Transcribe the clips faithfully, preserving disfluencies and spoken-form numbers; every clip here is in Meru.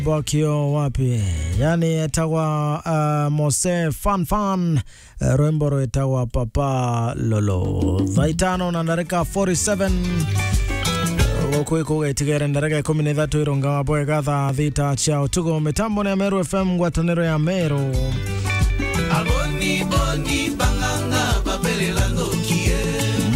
Bwakio wapi? Yani etagwa, uh, Mose Fan Fan, eh, rwimbo rwitagwa Papa Lolo. Thaa itano na ndarika forty-seven. Guku ikuga itigere ndarika ikumi na ithatu irungaga bwega thaa thita cia utuku. Mitambo ni ya Meru F M, ngwataniro ya Meru. Aboni boni bang'ang'a babelela ndokie.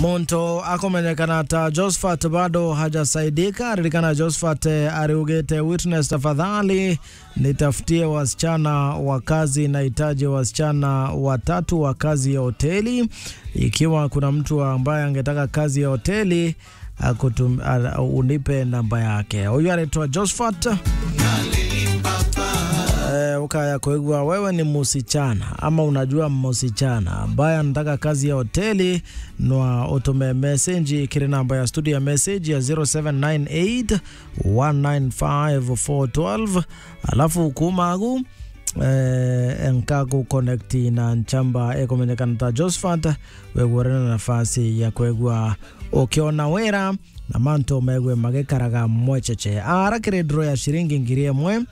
Muntu akumenyekana ta Josephat bado hajasaidika. Ririkana Josephat, eh, ariugite, "Witness tafadhali, nitafutie wasichana wa kazi, nahitaji wasichana watatu wa kazi ya hoteli. Ikiwa kuna mtu ambaye angetaka kazi ya hoteli, akutum-, a-, unipe namba yake." Huyu anaitwa Josephat. Eh, ukaya kwigua wewe ni musichana ama unajua musichana ambaye anataka kazi ya hoteli, nwa utume message kiri namba ya studio ya message ya zero seven nine eight one nine five four twelve. Alafu kuma agu, eh, nkagu connect na nchamba ekumenyekana ta Josephat, wegwore na nafasi ya kwegua ukiona wira na mantu megwe magikaraga mwecheche. Ara kiri draw ya shiringi ngiri imwe.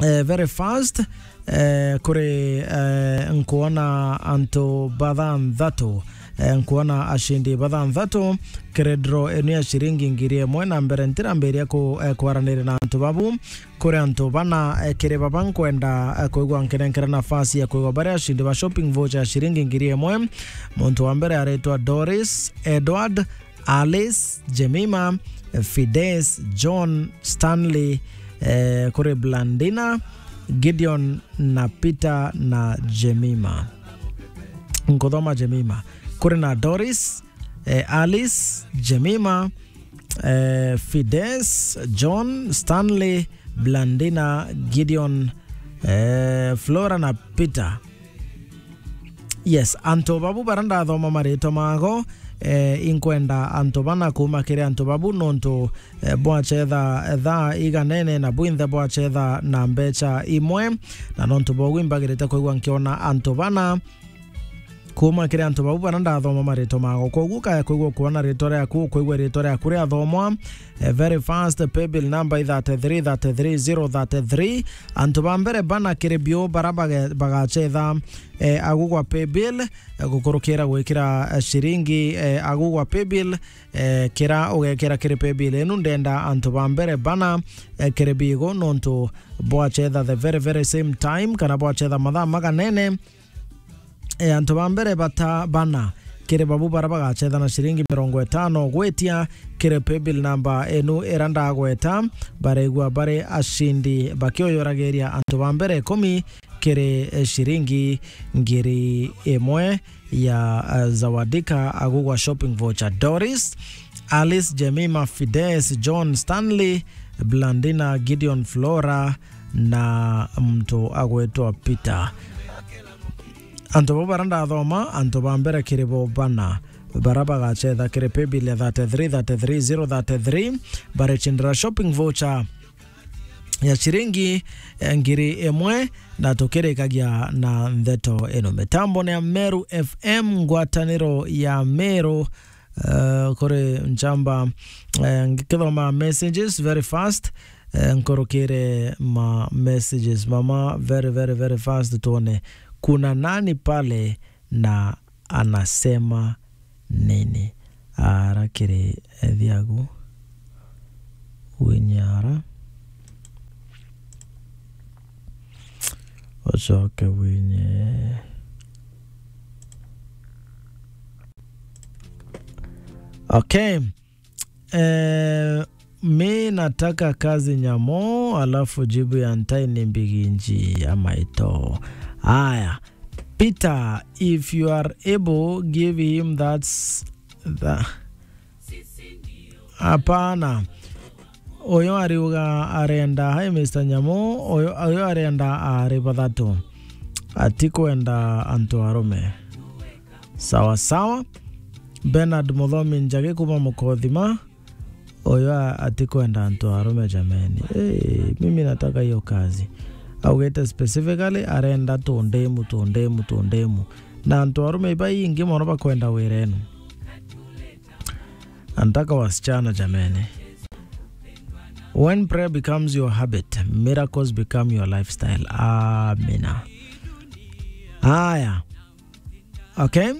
Eh, very fast, eh, kuri, eh, nkuona antu bathanthatu, eh, nkuona ashindi bathanthatu kiri draw enu ya shiringi ngiri imwe. Na mbere ntirambiria ku-, eh, kwaranira na antu babu. Kuri antu bana, eh, kiri baba nkwenda, eh, kwigua nkinenkera nafasi ya kwigua bari ashindi ba shopping voucher ya shiringi ngiri imwe. Muntu wa mbere aritwa Doris Edward, Alice, Jemima, Fides, John, Stanley, eh, kuri Blandina, Gideon na Peter na Jemima. Nkuthoma Jemima. Kuri na Doris, eh, Alice, Jemima, eh, Fides, John, Stanley, Blandina, Gideon, eh, Flora na Peter. Yes, antu babu bara ndathoma maritwa mago, eh, inkwenda antu bana kuma kiri antu babu nontu, eh, bwachetha thaa iganene na bwinthe bwachetha na mbecha imwe, na nontu bogu imbagirite kwigua nkiona antu bana kuma kiri antu babu bara ndathoma maritwa mago. Koguo kaya kwigua kuona ritwa riaku, kwigua ritwa riaku riathomwa, eh, very fast, paybill number i thirty-three thirty-three zero thirty-three. Antu ba mbere bana kiri biu bara bage-, bagachetha, eh, agu gwa paybill, eh, gukurukira gwikira, eh, shiringi, eh, agu gwa paybill, eh, kira ugekira kiri paybill inu. Ndenda antu ba mbere bana, eh, kiri bigo nontu bwachetha the very, very same time, kana bwachetha mathaa maganene. E, antu ba mbere bata bana kiri babu bara bagachetha na shiringi mirongo itano gwitia kiri paybill number enu ira ndagweta, baregua bari ashindi bakioyoragiria antu ba mbere ikumi kiri, e, shiringi ngiri imwe ya, e, Zawadika agugwa shopping voucher. Doris, Alice, Jemima, Fides, John, Stanley, Blandina, Gideon, Flora na mtu agwetwa Peter. Antu bau bara ndathoma, antu ba mbere kiri bo bana bara bagachetha kiri paybill ya thirty-three thirty-three zero thirty-three, barechindira shopping voucher ya shiringi, eh, ngiri imwe, na tukirikagia na ndeto ino. Mitambo ni ya Meru F M, ngwataniro ya Meru. Eh, kuri nchamba, eh, ngikithoma messages very fast, eh, nkurukire ma messages mama very, very, very fast, tuone kuna nani pale na anasema nini. Ara kiri ethiagu winyara. Ucoke winye. Okay. Eh, mi nataka kazi nyamo, alafu jibu ya ntai ni mbiginji ya maito. Aya. Peter, if you are able, give him that's the, hapana. Uyu ariuga arenda, hi Mister Nyamu, uyu, uyu arenda ari bathatu. Atikwenda antu arume. Sawa sawa. Bernard Muthomi Njagi kuma Mukothima. Uyu a-, atikwenda antu arume jameni. Hey, mimi nataka hiyo kazi. Augite specifically arenda tundemu, tundemu, tundemu. Na antu arume ibaingi mono bakwenda wira enu. Antaka wasichana jameni. When prayer becomes your habit, miracles become your lifestyle. Amina. Haya. Okay.